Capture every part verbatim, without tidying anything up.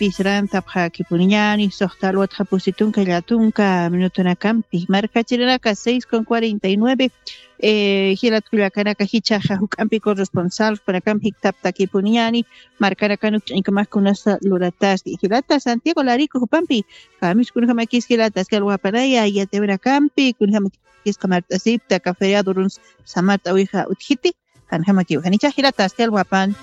pisrantapxakipuniñani, suxta alwatxa pusi tunka llatunka minutunakampi. Markachirinaka seis con cuarenta y nueve, eh, jilat kullakanaka jichhaxa juk'ampi corresponsal, jupanakam jiktaptakipuniñani, markanakan ukch'añkamax kunasa lurataski. Jilata Santiago Larico jupampi, kamiskunjamakis jilata, aski alwapanaya, yatewinakampi, kunjamakis qamart'asipta, ka feriado runs samart'awixa utjiti, janjamakiw, janicha jilata, aski alwapan.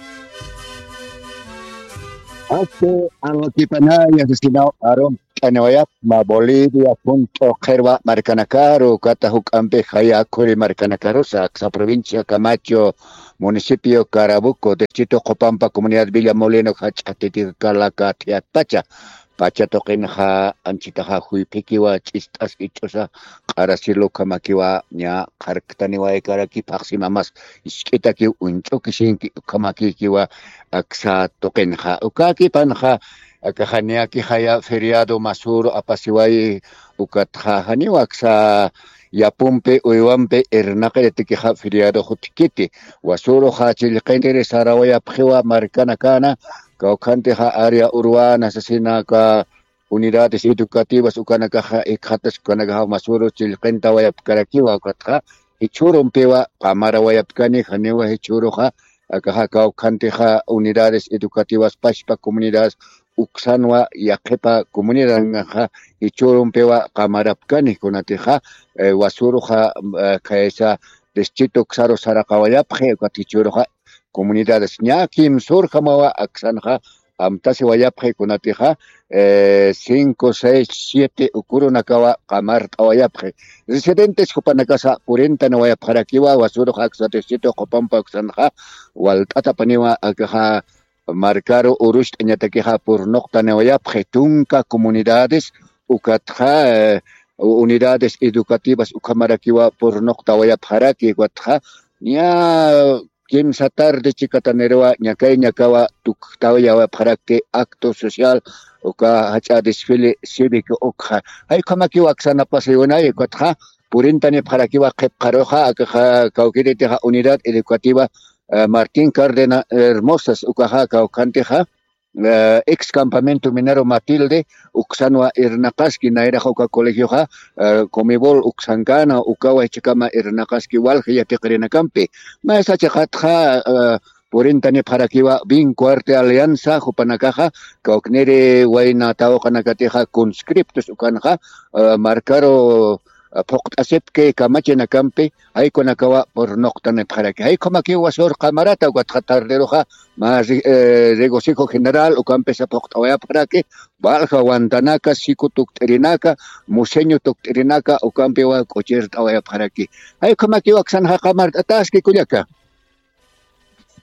Aski alwakipanaya, asesinaw arum, t'aniwayapma Bolivia, punto qhirwa markanakaru, kata juk'ampi jaya khuri markanakarusa, aksa provincia Camacho, municipio Carabuco, distrito Qopampa, comunidad Villa Molino, jach'a titikalaka thiatpacha. Pacha tuqinxa anchitaxa juyphikiwa ch'ist'as ich'usa q'arasilu ukhamakiwa ña qharktaniwaykaraki phaxsimamas isk'itakiw uñch'ukisinki ukhamakikiwa aksa tuqinxa. Ukakipanxa akaxa niyakixaya feriado masuru apasiwayi ukatxa janiw aksa yapumpi uywampi irnaqiritikixa feriado jutkiti. Wasuruxa chillqintiri sarawayapxiwa markanakana, kawkhantixa área urbana sasinaka unidades educativas ukanakaxa ikxatas ukanakaxa masuru chillqintawayapkarakiwa ukatxa jichhürumpiwa qamarawayapkani janiwa jichhüruxa akaxa kawkhantixa unidades educativas pachpa comunidades uksanwa yaqhipa comunidadnakaxa jichhürumpiwa qamarapkani kunatixa, eh, wasuruxa, eh, khaysa distrito uksaru saraqawayapxi ukat jichhüruxa comunidades ña kimsürjamawa aksanxa amtasiwayapxi kunatixa, eh, cinco, seis, siete ukurunakawa qamart'awayapxi. Residentes jupanakasa purintanawayapxarakiwa wasurux aksa distrito Qopampa uksanxa walt'atapaniwa akaxa markaru urucht'añatakixa purnuqtaniwayapxi tunka comunidades ukatxa, eh, unidades educativas ukhamarakiwa purnuqtawayapxaraki ukatxa ña kimsa tarde chikataniruwa ñakay ñakawa tuktawayapxarakti acto social uka jach'a desfile cívico ukxa. Jay ukhamakiwa aksanapasa iwanay ukatxa purintanipxarakiwa qhipqaruxa akaxa kawkiritixa unidad educativa, eh, Martín Cárdenas Hermosas ukaxa kawkhantixa, eh, ex campamento minero Matilde uksanwa irnaqaski nayrax uka colegioxa, eh, Comibol uksankana ukawa jichhakama irnaqaski walja yatiqirinakampi. Maysa chiqatxa, eh, purintanipxarakiwa Vinco Arte Alianza jupanakaxa kawkniri wayna tawqanakatixa conscriptos ukanxa, eh, markaru phuqt'asipki kamachinakampi jaykunakawa purnuqtanipxaraki. Jaykhamakiwa sur qamarata ukatxa tarderuxa mä ri-, eh, regocijo general ukampisa phuqt'awayapxaraki, walja wantanaka, siku tukt'irinaka, museño tukt'irinaka ukampiwa k'uchirt'awayapxaraki. Jaykhamakiwa aksanxa qamart'ataski kullaka.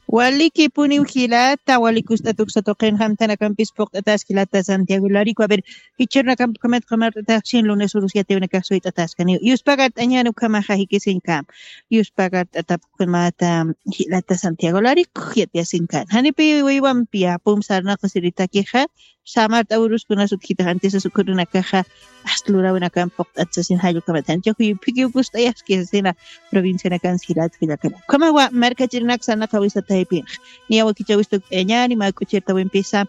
Walikipuniw jilata, wali kust'at uksa tuqin jamtanakampis puqt'ataski jilata Santiago Larico. A ver, jichhürunakampukhamat qamart'ataxsin lunes urus yatiwinakax suyt'ataskaniw. Yuspagart'añan ukhamaxa jikisinkam. Yuspagart'atapukhamata jilata Santiago Larico yatiyasinkam. Janipi wiwampi apum sarnaqasiritakixa, samart'a uruskunas utjitax antisas ukhurunakaxa, hasta lurawinakan puqt'at sasin jallukhamat. Janchax juyuphikiw kust'ayaski sasina provincianakan jilat kullakana. Ukhamawa markachirinak sarnaqawisataypinx. Niya wakichawis tukt'ayañani, mä k'uchirtawimpisa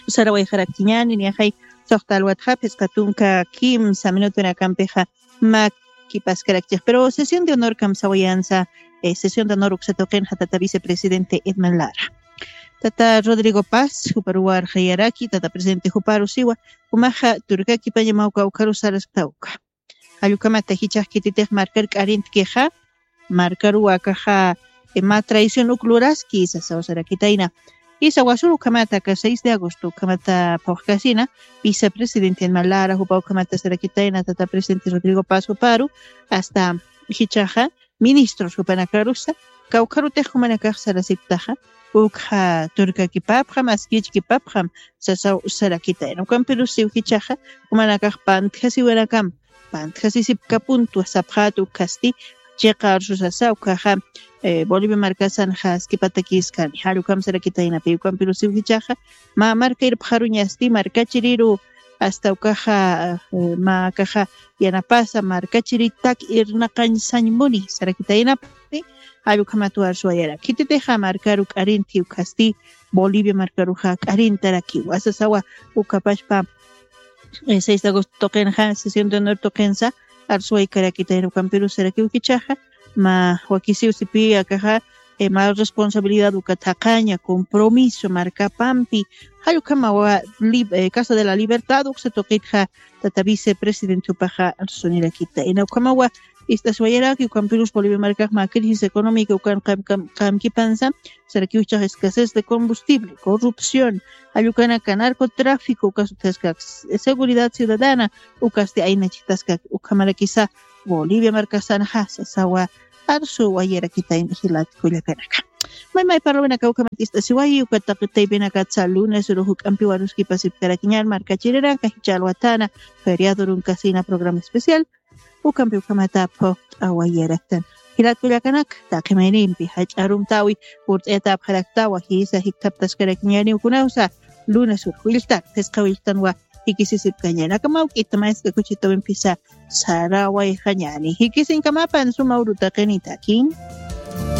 sarawayxarakchiñani, niyaxay suxta alwatxa phisqa tunka kimsa minutunakampixa mä kipaskarakchix. Pero sesión de honor kamsawayansa, eh, sesión de honor uksa tuqinxa tata vicepresidente Edman Lara. Tata Rodrigo Paz, juparuw arxayaraki, tata presidente juparu siwa, jumaxa turkakipañamaw kawkharus saraskta uka. Jallukhamata jichhax khititix markar k'arintkixa, markaruw akaxa, eh, mä traición uk luraski, sasaw sarakitayna. Isa wasur ukhamata aka seis de agosto ukhamata phuqkasina, vicepresidente Edman Lara, jupa ukhamata sarakitayna, tata presidente Rodrigo Paz juparu, hasta jichhaxa, ministros jupanakarusa, kawkharutix jumanakax sarasiptaxa, ukxa turkakipapxam, askichkipapxam, sasaw sarakitayna. Ukampirusiw jichhaxa, jumanakax pantjasiwinakam, pantjasisipkapuntu sapxäta ukasti, chiqa arsusasa, ukhaxa, eh, Bolivia markasanxa askipatakiskani, jallukam sarakitaynapi, ukampirusiw jichhaxa, mä marka irpxaruñasti, markachiriru, Asta ukaxa mä akaxa yanapasa markachiritak irnaqañ sañ muni sarakitaynapi. Jall ukhamat warsuwayara khititixa markaru k'arinti ukhasti bolivia markaruxa k'arintarakiwa sasawa. Ukapashpa seis de agosto tuqinxa sesión de honor tuqinsa arsuwaykarakitayna ukampiru sarakiw jichhaxa mä wakisiw sipi akaxa mä responsabilidad uka thaqaña compromiso markapampi. Jall ukhamawa casa de la libertad uksa tuqitxa tata vicepresidente jupaxa arsunirakita ina ukhamawa. Ist'asiwayaraki ukampirus bolivia markax mä crisis económica ukan qamkipansa sarakiw jichhax escasez de combustible corrupción jall ukanaka narcotráfico ukas utjaskak seguridad ciudadana ukasti aynachitaskak ukhamarakisa bolivia markasanxa sasawa. Arsuwayarakitayna jilat kullakanaka. Maymay parlawinaka ukhamat ist'asiwayi uka taqi taypinakatsa lunes uruxuk'ampi waruskipasipkarakiñan markachiriranka jichha alwatana feriado runkasina programa especial ukampi ukhamata phuqt'awayaraktan. Jilat kullakanaka taqi maynimpi jach'arumtawi purt'ayatapxaraktawa jisa jikthaptaskarakiñani ukunawsa lunes urux willtan phisqa willtanwa jikisisipkañani aka mawk'ita maysqa kuchitawimpisa sarawayxañani jikisiñkamapan suma urutaqinitakin.